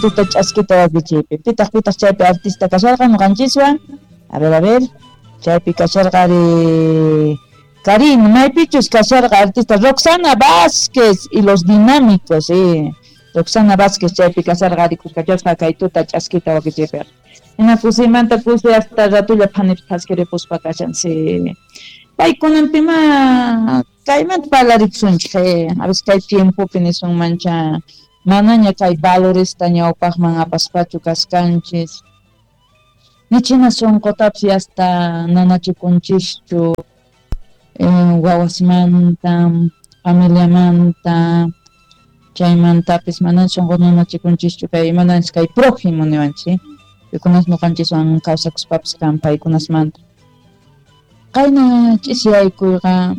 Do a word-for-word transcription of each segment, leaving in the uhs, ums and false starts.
Tuta ch'askita wakichiypi. Pitaq pitaq chaypi artista kasharqa ñuqanchiswan. A ver, a ver. Chaypi kasharqa ari Karin, maypichus kasharqa artista Roxana Vázquez y los Dinámicos, sí. Roxana Vázquez chaypi kasharqa ari kuskachasqa kay tuta ch'askita wakichiypiqa. Hina kusiymanta kusi hasta ratulla phanipis thaskiripuspa kashan, sí. Paykunanpima kaymanta parlarikusunchik, a veces kay tiempopi nisunmancha manaña kay valoresta ñawpaqman apaspachu kaskanchis. Nichina sunqutapis hasta nanachikunchischu eh, wawasmanta, familiamanta, chaymantapis mana sunqu nanachikunchischu kay mananchis kay prójimo niwanchis, pikunas ñuqanchiswan kawsakuspapis kan paykunasmanta. Qayna ch'isiyaykuyqa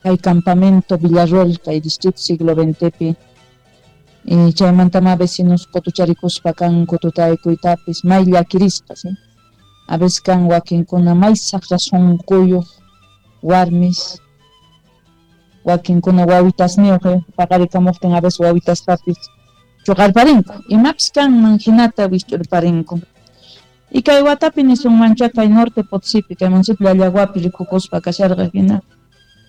kay campamento Villarroel, kay distrito siglo veintepi, y chaymantama vecinos qutucharikuspa kanku tutaykuytapis may llakirisqa, ¿sí? A veces kan wakinkuna may saqra sunquyuq warmis, wakinkuna wawitasniyuq, eh, paqarikamuqtin a veces wawitastapis chuqarparinku, imapis kanman hinata wisch'urparinku. Y kay watapi nisunmancha kay norte Potosipi, kay municipio Llallaguapi rikukuspa kasharqa hina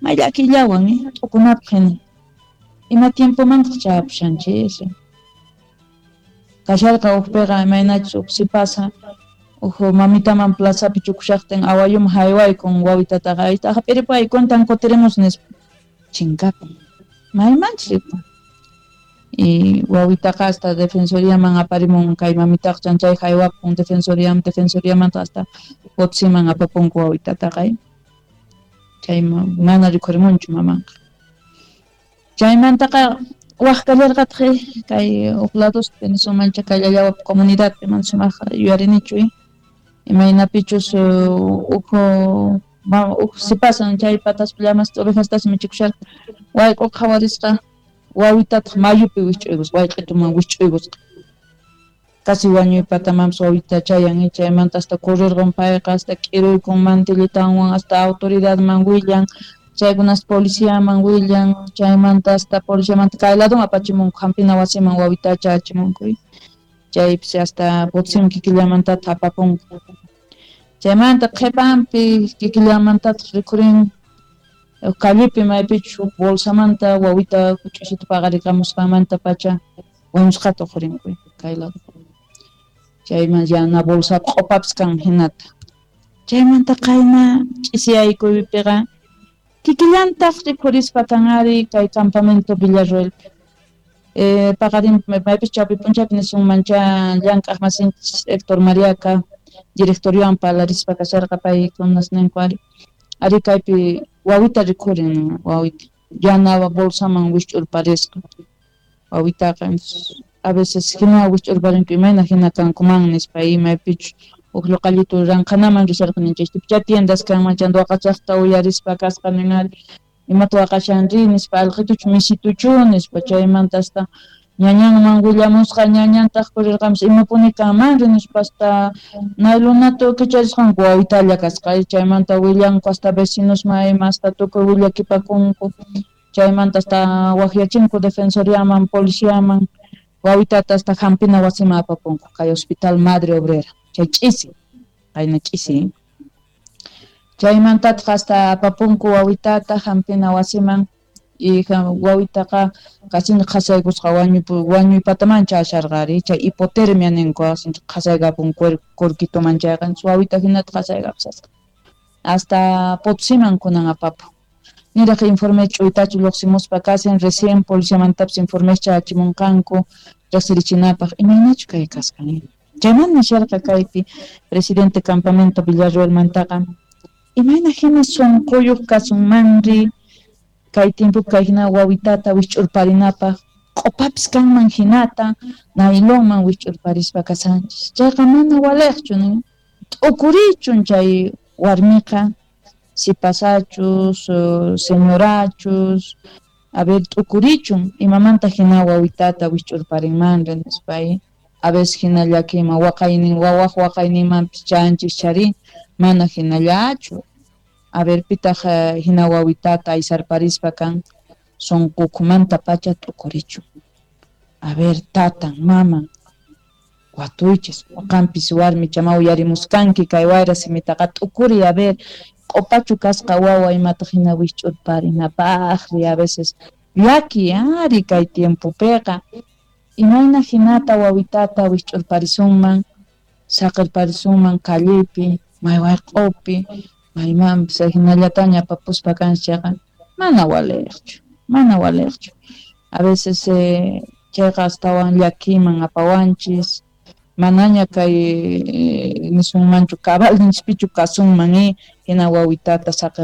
may llakillawan, eh, t'ukunapaq hina. Ima tiempomantaq chayapushanchis. Kasharqa ukpiqa imaynachus uj sipasa uj mamitaman plazapi chukushaqtin awayuma haywaykun wawitataqa ayta hap'iripay cuentan kutirimus nispa chinkapun maymanchis ripun. Y wawitaqa hasta defensoriaman aparimun kay mamitaqa chanchay haywapun defensoriaman, defensoriamanta hasta Potosiman apapunku wawitataqa, chay mana rikhurimunchu mamanqa. Chaymantaqa waj kallarqataq kay uj ladospi nisunmancha kay Llallawapi comunidadpi mana sumaqqa yuyarinichu, imaynapichus uj uj sipasan chay pataspi llamasta ovejastas michikusharqa wayq'uqa qhawarisqa wawitataq mayupi wisch'uykusqa wayq'ituman wisch'uykusqa casi wañuypatamanpis wawita chayan, chaymanta hasta correrqun payqa hasta k'iruykun mantillitanwan hasta autoridadman willan, chaykunas policiaman willan, chaymanta hasta policiamanta kay ladoman apachimunku hampina wasiman wawitacha achimunku, chaypis hasta Potosiman kikillamantataq apapunku. Chaymanta qhipanpi kikillamantataq rikhurin callepi maypichus huk bolsamanta wawita huch'uysita paqarikamusqanmanta pacha wañusqata uqhurinku kay lado. Chayman yana bolsapi q'upapis kan hinata. Chaymanta qayna ch'isiyaykuypiqa kikillantaq rikhurispa kan ari kay campamento Villarroelpi. Eh, paqarin maypis chawpi p'unchaypi nisunmancha llank'aq masinchis Héctor Mariaca directoriowan parlarispa kasharqa paykunas ninku ari ari kaypi wawita rikhurin wawita yana bolsaman wisch'urparisqa wawitaqa a veces hina wisch'urparinku imayna hina kankuman nispa imaypichus uj luqallitu ranqhanaman risharqa ninchis tiendas kanman chanta waqachaqta uyarispa kasqa nin ari imata waqashanri nispa alqituchu misituchu nispa chaymanta hasta ñañanman willamusqa ñañantaq purirqamus imapuni kanmanri nispa hasta naylunata kicharisqanku wawitalla kasqa chaymanta willanku hasta vecinosman ima hasta tukuy willakipakunku chaymanta hasta waqyachinku defensoriaman policiaman wawitata hasta hampina wasiman apapunku kay hospital Madre Obrera chay ch'isi qayna ch'isi chaymantataq hasta apapunku wawitata hampina wasiman y wawitaqa kasincha qhasaykusqa wañuypataman chasharqa ari chay hipotermia ninku sincha qhasaykapun kurkituman chayqa wawita hinata qhasaykapusasqa hasta Potosiman kunan apapun niraq informe ch'uytachu lluqsimuspa kasin recién policiamantapis informes chachimunqanku riqsirichinapaq imaynachu kay kasqa chayman nisharqa kaypi presidente campamento Villarroelmantaqa imayna hina sunquyuq kasunmanri kay tiempopi kay hina wawitata wisch'urparinapaq q'upapis kanman hinata naylonman wisch'urparispa kasanchis chayqa mana waliqchu nin t'ukurichun chay warmiqa sipasachus señorachus a ver t'ukurichun imamanta hina wawitata wisch'urparinmanri nispa a veces hina llakiyman waqaynin wawaq waqayninmanpis chanchis chari mana hinallachu a ver pitaq hina wawitata aysarparispa kan sunqukumanta pacha t'ukurichun a ver tatan maman Watuychis, qampis warmicha ma uyarimuskanki kay wayra simitaqa t'ukuri a ver q'upachu kasqa wawa imataq hina wikch'urparinapaqri a veces llaki ari kay tiempopiqa imayna hinata wawitata wikch'urparisunman saqirparisunman callepi may wayq'upi maymanpis hinallataña apapuspa kanchis chayqa mana waliqchu mana waliqchu a veces eh, chayqa astawan llakiman apawanchis manaña kay nisunmanchu cabalninchispichu kasunman eh hina wawitata saqir